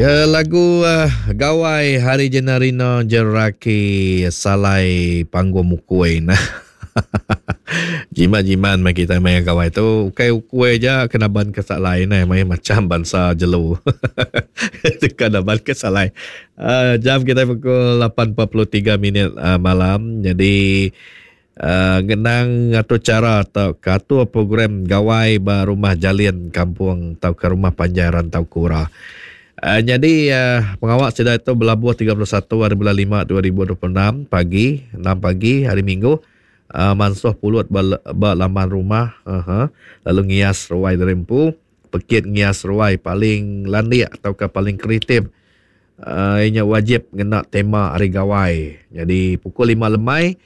Ya, lagu uh, Gawai Hari Jenarina Jeraki Salai Panggung Mukui nah. Jimat-jimat mai kita maya gawai tu ukai ukui aja kena ban ke salai nah mai macam bansa jelu. Teka ban ke salai. Uh, jam kita pukul 8.43 minit uh, malam. Jadi uh, ngenang atau cara atau atur program gawai ba rumah Jalin Kampung atau ke rumah panjai Rantau Kura. Jadi pengawa sida itu belabuh 31 hari bulan 5 2026 pagi 6 pagi hari Minggu mansuh pulut ba, ba laman rumah uh-huh. Lalu ngias ruai dari empu pekit ngias ruai paling landik atau ke paling kreatif inya wajib ngena tema hari gawai. Jadi pukul 5 lemai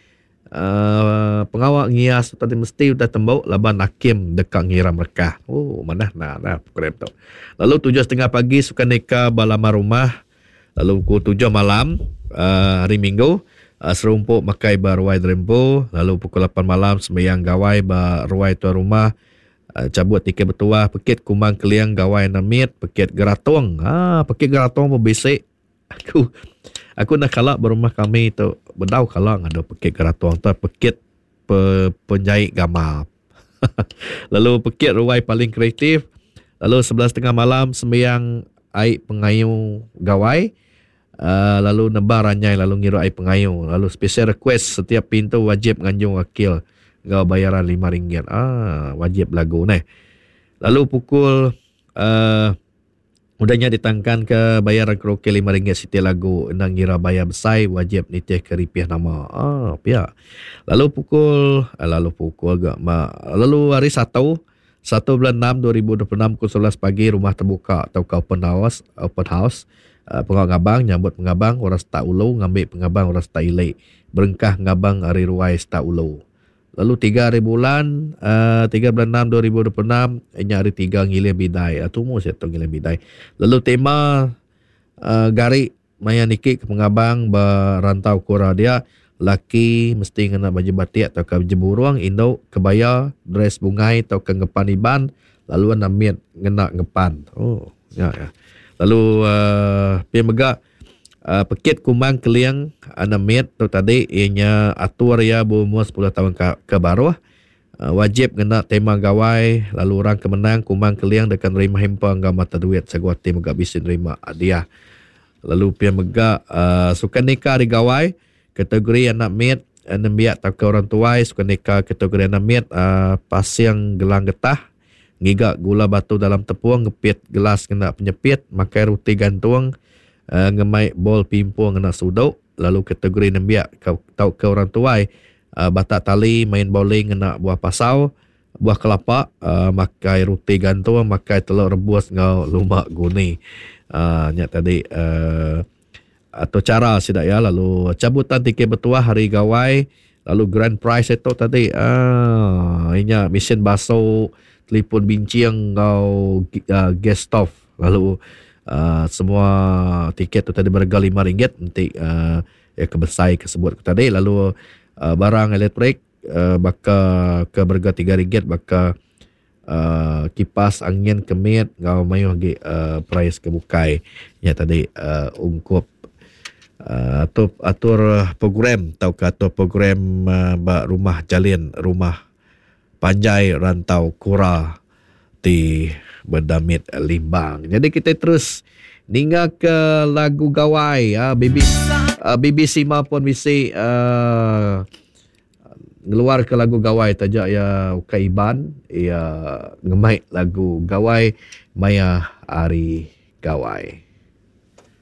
Pengawa ngias tu tadi mesti udah tembu laban akim deka ngiram rekah. Oh manah nah nah program tu. Lalu 7.30 pagi sukaneka ba laman rumah lalu pukul 7 malam uh, hari Minggu uh, serumpu makai ba ruai derempu lalu pukul 8 malam sembahyang gawai ba ruai tuan rumah uh, cabut tiket bertuah pekit kumang keling gawai namit pekit geratung. Ha pekit geratung pun bisi. Aku aku enda kala ba rumah kami tu bedau kala ngadu pekit geratung tu pekit pe penyai gamal. Lalu pekit ruai paling kreatif lalu 11.30 malam sembiang ai pengayu gawai uh, lalu nebar ranyai lalu ngiru ai pengayu lalu special request setiap pintu wajib nganjung wakil enggau bayaran RM5. Ah wajib lagu neh. Lalu pukul uh, Udah nya ditangkanka bayaran karaoke RM5 siti lagu enda ngira bayar besai wajib nitihka ripih nama. Ah pia. Lalu pukul eh, lalu pukul ga ma lalu hari Satu 1 bulan 6 2026 pukul 11 pagi rumah terbuka tauka open house open house uh, pengawa ngabang nyambut pengabang orang setak ulu ngambi pengabang orang setak ili berengkah ngabang ari ruai setak ulu. Lalu tiga hari bulan uh, 3 bulan 6 2026 nya hari tiga ngiling bidai. Uh, tumu sia tu ngiling bidai. Lalu tema uh, gari maya niki ke pengabang ba rantau kura dia laki mesti ngena baju batik atau ke baju burung, indu kebaya, dress bungai atau ke ngepan Iban, lalu anak mit ngena ngepan. Oh, ya ya. Lalu uh, pia mega Pekit Kumang Keling Anak Mit tu tadi iya nya atur iya beumur sepuluh taun ke baruh wajib ngena tema gawai lalu orang ke menang Kumang Keling deka nerima hamper enggau mata duit sagu ati mega bisi nerima hadiah. Lalu pia mega sukan nika ari gawai kategori anak mit nembiak tauka orang tuai sukan nika kategori anak mit pasing gelang getah ngiga gula batu dalam tepung, ngepit gelas ngena penyepit, makai ruti gantung, ngemai bol pimpung ngena suduk, lalu kategori nembiak tauka orang tuai batak tali, main bowling ngena buah pasau, buah kelapa, makai ruti gantung, makai telur rebus enggau lumba guni. Nya tadi atur chara sida iya lalu cabutan tiket betuah hari gawai lalu grand prize itu tadi aaa inya mesin basu, telefon binching enggau gas stove lalu aaa semua tiket tu tadi berega RM5 enti aaa iya ke besai ke sebut ku tadi lalu aaa barang elektrik aaa baka ke berega RM3 baka aaa kipas angin ke mit enggau mayuh agi aaa prize ke bukai nya tadi aaa ungkup aaa atur atur program tauka atur program aaa ba rumah jalin rumah panjai rantau kura ti bedamit limbang. Jadi kita terus ninga ke lagu gawai aaa BB aaa BB Sima pun bisi aaa Ngeluar ke lagu gawai taja iya ukai Iban, iya ngemai lagu gawai maya hari gawai.